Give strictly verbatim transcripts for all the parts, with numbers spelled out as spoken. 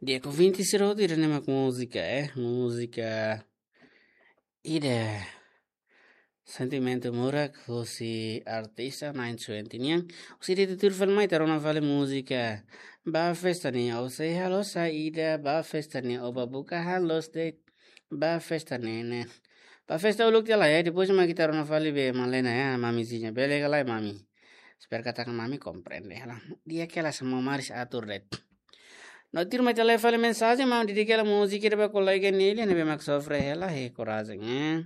Di'ak ouvinte sira hotu, ida-ne'e mak múzika, eh, múzika ida Sentimentu Murak, husi artista nine twenty nian. Husi ida tutur fali mai ita rona fali múzika Ba Festa Ne'e, ou sei halo saida, ba festa ne'e, ou ba buka han loos de'it, ba festa ne'e ne'e. Ba festa uluk tiha lai, eh, depois mak ita rona fali be Malena, eh, mamizinha. Bele ka lae, mami? Espera katak mami komprende hela. Di'ak hela, sá maun Maris atur de'it. No tuirmai ita lee fali mensajen, maun, dedika hela múzika ida ba kolega Nelia ne'ebé mak sofre hela, eh, korajen, eh.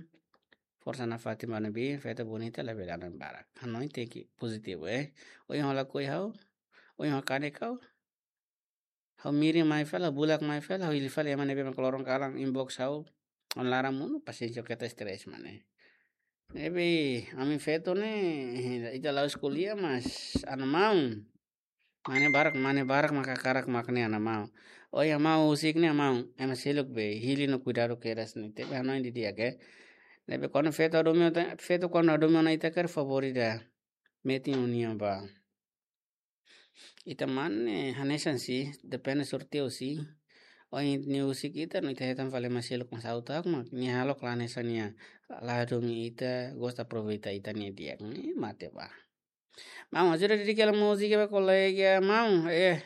Forsa nafatin ba ne'ebé, feto bonita labele hanoin barak. Hanoin tenke pozitivu, eh. Ohin ha'u lakohi ha'u, ohin ha'u kanek ha'u. Ha'u mirin mai fali, ha'u bulak mai fali, ha'u hili fali ema ne'ebé mak loron kalan inbox ha'u. Ha'u laran monu, pasiénsia keta stress mane. Ne'ebé, ami feto ne'e, ita la'ós ko'alia, mas ha'u-nia maun. Mane barak, mane barak mak hakarak mak ne'e ha'u-nia maun. Ohin ha'u husik ne'e maun, ema seluk be, hili no kuidadu kedas ne'e, tenke hanoin didi'ak, eh. Ne'ebé kuandu feto hadomi ona, feto kuandu hadomi ona ita karik favór ida. Metin ó-nia ba. Ita mane hanesan si, depende sorteio si. Ohin nia husik ita, no ita hetan fali ema seluk mak sa'e tak mak, nia halo kala hanesan nia la hadomi ita, gosta aproveita ita-nia di'ak. Ne'e mate ba. Maun, ajuda dedika hela múzika ba kolega, maun, eh.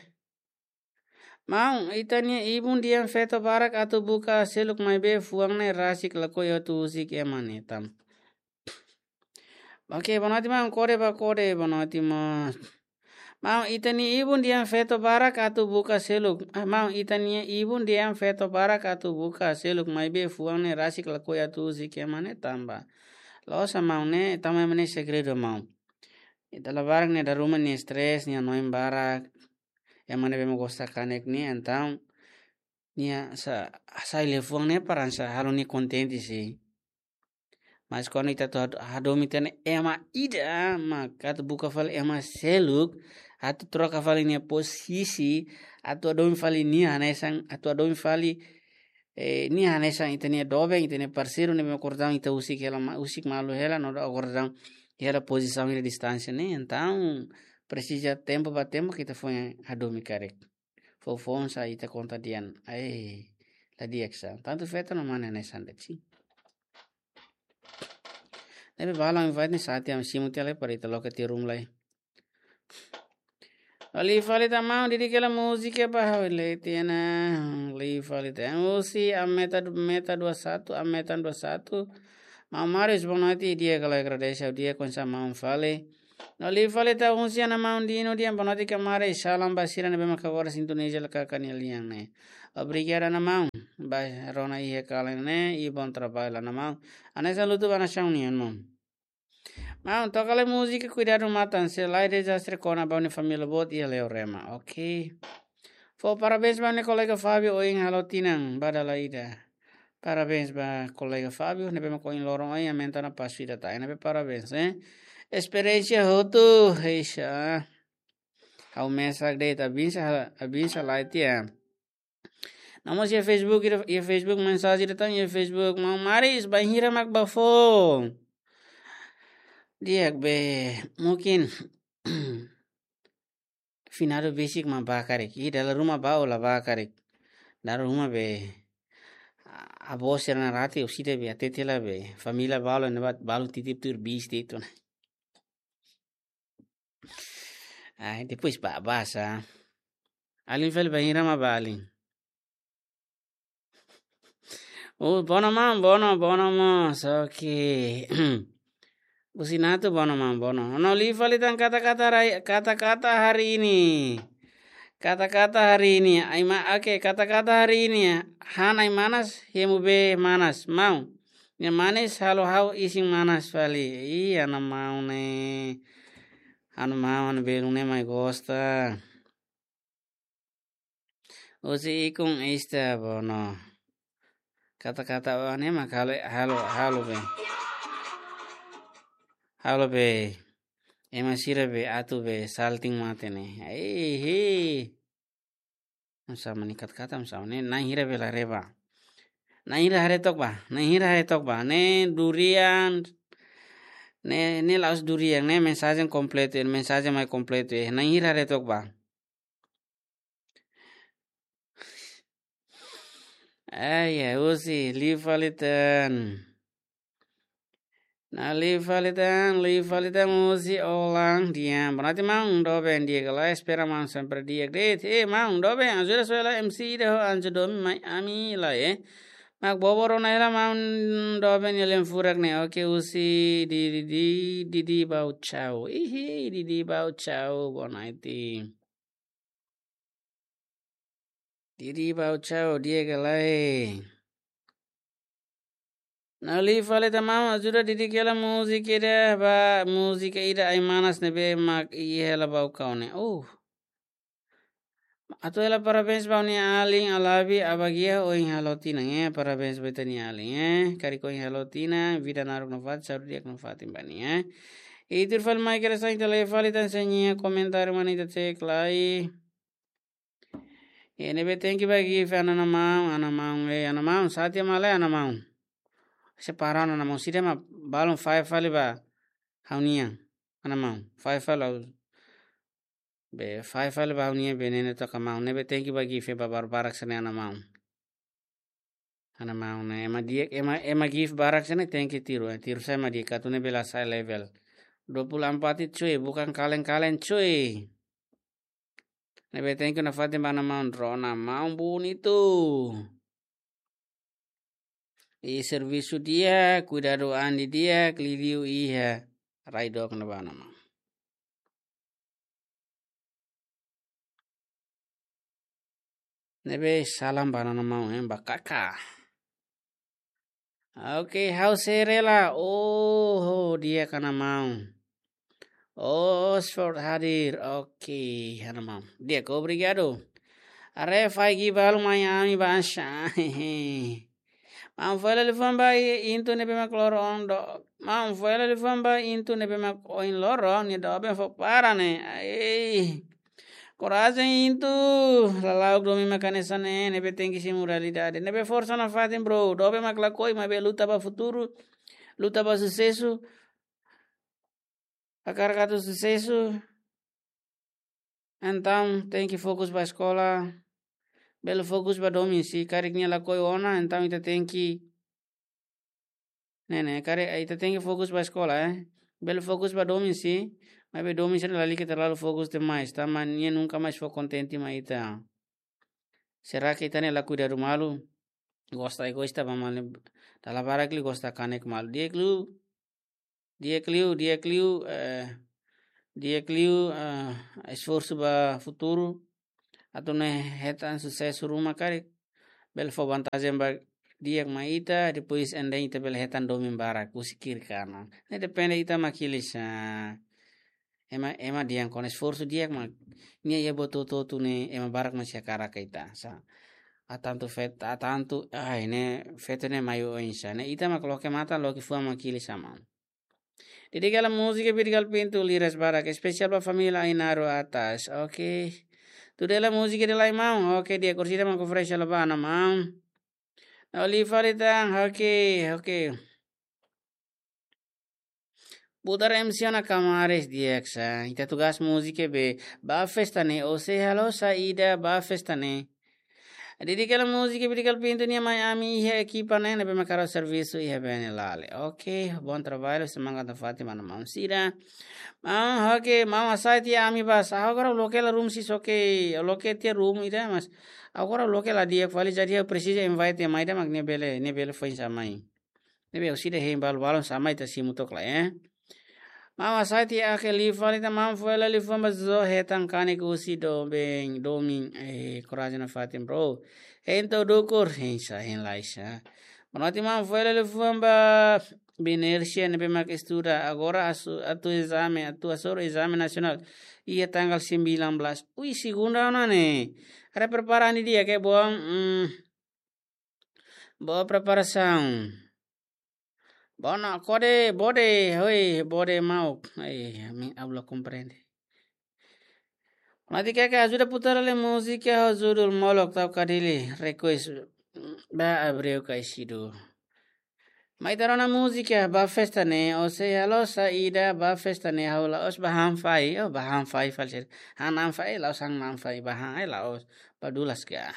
Maun, ita-nia ibun dehan feto barak atu buka seluk maibé fuan ne'e rasik lakohi atu husik ema ne'e tan. Oke, boa noite, maun, kode ba kode, boa noite, maun. Maun, ita-nia ibun dehan feto barak atu buka seluk. Ah, maun, ita-nia ibun dehan feto barak atu buka seluk maibé fuan ne'e rasik lakohi atu husik ema ne'e tanba. Loos, maun, ne'e, tanba ema ne'e segredu, maun. Ita la barak ne'e dala ruma nia stress, nia hanoin barak. Ema ne'ebé mak gosta kanek ne'e, entaun nia sa-, sai liafuan ne'e para hanesan halo nia kontente si. Mas kuandu ita atu had-, hadomi tan ema ida, mak atu buka fali ema seluk, atu troka fali nia posisi, atu hadomi fali nia hanesan, atu hadomi fali, eh, nia hanesan ita-nia doben, ita-nia parseiru, ne'ebé mak kordau ita husik hela ma-, husik malu hela, no dala kordau hela pozisaun hela distánsia ne'e, entaun presiza tempu ba tempu ita foin hadomi karik. Foufoun sá ita konta dehan, ai, la di'ak sá. Tantu feto no mane hanesan de'it si. Ne'ebé balu invite ne'e sá tiha ami simu tiha lai para ita loke tiha ruma lai. Liu fali tan maun, dedika hela múzika ba ha'u, lee tiha ona, liu fali tan. Husi Ameta, Meta dua satu, Ameta dua satu. Maun Maris, boa noite, di'ak ka lae, agradese, di'ak, oinsá maun fali? No liu fali tan husi ha'u-nia maun Dino, di'ak, boa noite kamarai, salam ba sira ne'ebé mak agora sintoniza L K K nia lian ne'e. Obrigadu ha'u-nia maun, ba rona iha kalan ne'e, i bom trabalho ha'u-nia maun. Hanesan lutu ba nasaun nian maun. Maun, toka lai múzika Kuidadu Matan, se la iha dezastre kona ba ha'u-nia família boot iha Leorema. Oke. Fó parabéns ba ha'u-nia kolega Fábio, ohin halo tinan ba dala ida. Parabéns ba kolega Fábio, ne'ebé mak ohin loron ohin aumenta ona pasu ida tan. Ne'ebé parabéns, eh. Esperiénsia hotu, eixa. Ha'u mesak de'it, abinsa, abinsa lai tiha. No mós iha Facebook, iha, iha Facebook mensajen ida tan, iha Facebook, maun Maris, bainhira mak bá fó? Di'ak be, mungkin finadu besik mak bá karik. I dala ruma bá ou la bá karik. Dala ruma be, a-, avó sira-nia rate, orsida be, hatete hela be, família balu ne'ebá, balu titip tuir bis de'it ona. Ai, depois bá, bá sá. Alin fali bainhira mak bá alin? Oh, bono maun, bono, bono maun, oke. Businatu bono maun, bono. No liu fali tan kata-kata rai-, kata-kata hari ini. Kata-kata hari ini. Ai ma-, oke, kata-kata hari ini. Han ai-manas, hemu bee manas. Maun. Nia manis halo ha'u isin manas fali. Ih, ha'u-nia maun ne'e. Ha'u-nia maun belun ne'e mai gosta. Husi Ikun Ista bono. Kata-kata oan ne'e mak halo, halo, halo be. Halo be. Ema sira be atu be salting mate ne'e. Ai, hi. Oinsá mak ne'e kata-kata, oinsá mak ne'e, na'in hira be la reba. Na'in hira haree took bá, na'in hira haree took bá. Ne'e durian, ne'e, ne'e la'ós durian, ne'e mensajen kompletu, mensajen mai kompletu, eh. Na'in hira haree took bá. Ai, ya, husi, liu fali tan. Nah, liu fali tan, liu fali tan husi Olang, di'ak. Berarti maun doben di'ak ka lae, espera maun sempre di'ak de'it. Eh, maun doben, ajuda soe la M C ida ho Anjo Domi mai ami lae, eh. Mak bobo rona hela maun doben nia lian furak ne'e. Oke, husi Didi, Didi, Didi Bau Chau. Ihi, Didi Bau Chau, boa noite. Didi Bau Chau, di'ak ka lae. Nah, liu fali tan maun, ajuda Didi hela múzika ida, ba, múzika ida Ai-Manas ne'ebé mak iha hela ba o kau ne'e. Uh. Atu hela parabéns ba ó-nia alin Alabi, Abagia, ohin halo tinan, eh. Parabéns ba ita-nia alin, eh. Karik ohin halo tinan, vida naruk nafatin, saúde di'ak nafatin ba nia, eh. I tuir fali mai kere sain tele fali tan señinha komentáriu mana ita cek lai. E ne'ebé tenke ba gift ana-maun, ana-maun, eh, ana-maun, sá tiha mak lae ana-maun. Separa ana-maun, sira mak balun fahe fali ba ha'u-nian, ana-maun, fahe fali ha'u. Be, fahe fali ba ha'u-nian be ne'e ne'e took maun, ne'ebé tenke ba gift ba barak-barak sira-ne'e ana-maun. Ana-maun ne'e, ema di'ak, ema, ema gift barak sira-ne'e tenke tiru, eh, tiru sai ema di'ak atu ne'e bele hasa'e level. Dua puluh empat itu cuy, bukan kaleng-kaleng cuy. Ne'ebé tenke nafatin ba ana-maun, rona maun bunitu. I servisu di'ak, kuidadu an di'ak, liuliu iha rai dook ne'ebá ana-maun. Ne'ebé salam ba ana-maun, eh, ba kaka. Oke, ha'u sei rela. Oh, di'ak ana-maun. Oxford hadir. Oke, ana-maun. Di'ak, obrigadu. Haree faik balu mai ami baibain. Maun fó hela liafuan ba i-, intu ne'ebé mak loro ona do. Maun fó hela liafuan ba intu ne'ebé mak ohin loro, nia doben fó para ne'e. Ai. Korajen intu, lala'ok domin mak hanesan ne'e, ne'ebé tenke simu realidade. Ne'ebé forsa nafatin, bro. Doben mak lakohi, maibé luta ba futuru, luta ba susesu. Hakarak atu susesu, entaun tenke fokus ba eskola. Bele fokus ba domin, se karik nia lakohi ona, entaun ita tenke, ne'e, ne'e, karik ita tenke fokus ba eskola, eh. Bele fokus ba domin, se, maibé domin sira lalika terlalu fokus demais, tanba nia nunka mais fó kontente mai ita. Será que ita-nia la kuidadu malu? Gosta egoísta ba malu, dala barak liu gosta kanek malu. Di'ak liu, di'ak liu, di'ak liu, eh, di'ak liu, eh, esforsu ba futuru. Atu nune'e hetan susesu ruma karik. Bele fó vantajen ba di'ak mai ita, depois ende ita bele hetan domin barak, husi kiri kanan. Ne'e depende ita mak hili sá. Ema, ema dehan kona esforsu di'ak mak nia iha buat hotu-hotu ne'e ema barak mak sei hakarak ita sá. Ha'u tantu feto, ha'u tantu, ai, ne'e feto ne'e mai oinsá. Ne'e ita mak loke matan, loke fuan mak hili sá maun. Didi hela múzika Bidikal Pintu, liras barak, espesiál ba família Ainaro Atas. Oke. Tuda hela múzika ida lai maun. Oke, di'ak, orsida mak oferese hela ba ana-maun. Nah, liu fali tan, oke, oke. Putar M C ona kamares di'ak sá. Ita tugas múzika be, ba festa ne'e, ó sei halo saida ba festa ne'e. Didi hela múzika Bidikal Pintu nian mai ami iha ekipa ne'e, ne'ebé mak halo servisu iha Benelale. Oke, bom trabalho, semangat nafatin ba ana-maun sira. Maun, oke, maun hasai tiha ami bá. Agora loke la room si soke, loke tiha room ida, mas agora loke la di'ak fali, jadi ha'u presiza invite ema ida mak nia bele, nia bele foin sá mai. Ne'ebé orsida hein balu-balun sá mai ita simu took lai, eh. Maun hasai tiha, oke, liu fali tan maun fó hela liafuan ba Zo hetan kanek husi doben, domin, eh, korajen nafatin, bro. Hein to'o dukur, hein sá, hein lai sá. Boa noite maun, fó hela liafuan ba Binersia ne'ebé mak estuda. Agora asu-, atu ezame, atu hasoru ezame nasionál. Iha tanggal sembilan belas. Ui, segunda ona ne'e. Haree prepara an di'ak ke boa, mm. Boa preparasaun. Bona, kode, bode, hoi, bode mauk. Ai, ami, ha'u la komprende. Mati keke ajuda putar hela múzika ho judul Molok Tau Kadili, request. Ba Abreu Kaisidu. Mai ita rona múzika ba festa ne'e, ó sei halo saida ba festa ne'e, ha'u la'ós ba han fai, ó ba han fai fali sira. Han an fai, la'ós han an fai, ba han ai la'ós, ba dulas ka.